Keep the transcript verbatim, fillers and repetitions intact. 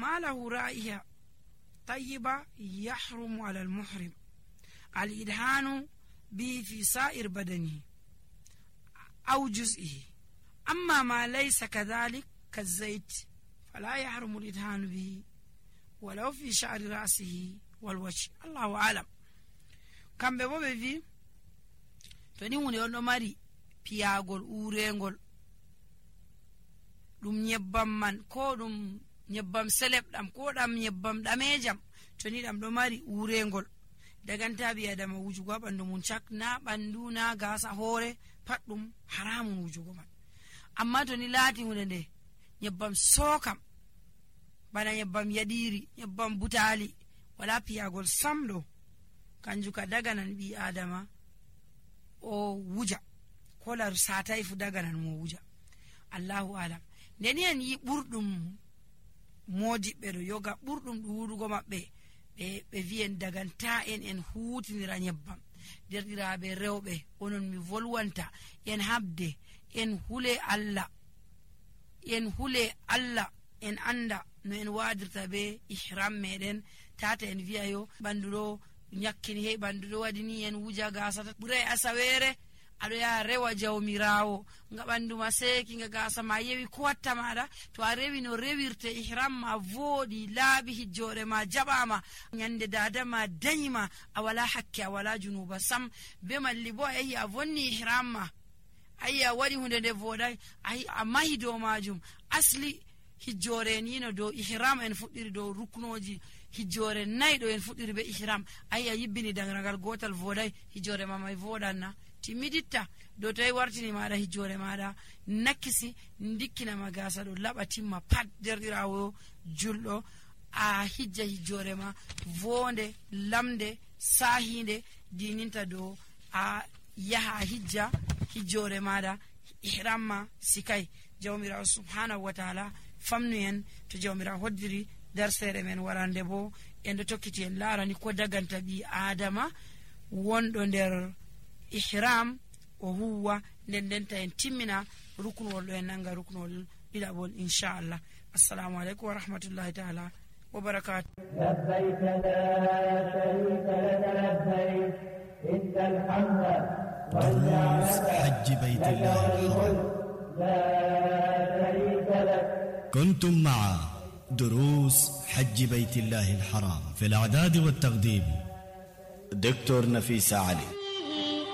ما له رائحة طيبة يحرم على المحرم الإدهان به في سائر بدنه أو جزئه. أما ما ليس كذلك كالزيت فلا يحرم الإدهان به ولو في شعر رأسه والوجه. الله أعلم. كم بابا في تنيون يوم ماري piyagol urengol dum nyebbam man ko dum nyebbam selebdam ko dam nyebbam damejam to ni dam do mari urengol daganta bi adama wujugo bandu mun chak na bandu na gasa hore pat dum haramun wujugo man. amma to ni lati hunde de nyebbam sokam bana nyebbam yadiri nyebbam butali wala piyagol samdo kanju ka daganan bi adama o wuja kolar satai fu daganan mo wuja. Allahu alam. Ndeni en yi burdum modi be do yoga burdum duudugo mabbe be be viyen daganta en en huutinira nyebbam derdiraabe rewbe onon mi volwanta en habde en hule Allah en hule Allah en anda no en wadirta be ihram meden tata en viayo bandudo nyakkini he bandudo wadini en wuja gasata bure asawere ado ya rewa jawmirawo nga bandu maseki nga gasa ma yewi ko watta mada to a rewi no rewirte ihram ma vodi laabi hijjore ma jabama nyande dada ma danyima awala hakke awala junuba sam be malli bo ayi a vonni ihram ma ayya wadi hunde de voda ay amahi do majum asli hijjore ni no do ihram en fuddiri do ruknoji hijjore naydo en fuddiri be ihram ayya yibbini dangragal gotal voday hijjore ma may vodanna timiditta do tay wartini maada hijjore maada nakisi ndikkina magasa do labatimma pat derdirawo juldo a hijja hijjore ma vonde lamde sahinde dininta do a yaha hijja hijjore maada ihramma sikai jawmira subhanahu wa ta'ala famnu en to jawmira hoddiri darsere men warande bo en do tokkiti en larani ko daganta bi adama wondo der ihram o huwa ndendenta en timmina ruknol do en nanga ruknol dilabol inshallah. Assalamu alaikum wa rahmatullahi ta'ala wa barakatuh. labbayk la sharika lak labbayk innal hamda wal ni'mata حج بيت الله الحرام. la sharika lak. كنتم مع دروس حج بيت الله الحرام في الإعداد والتقديم دكتور نفيس علي.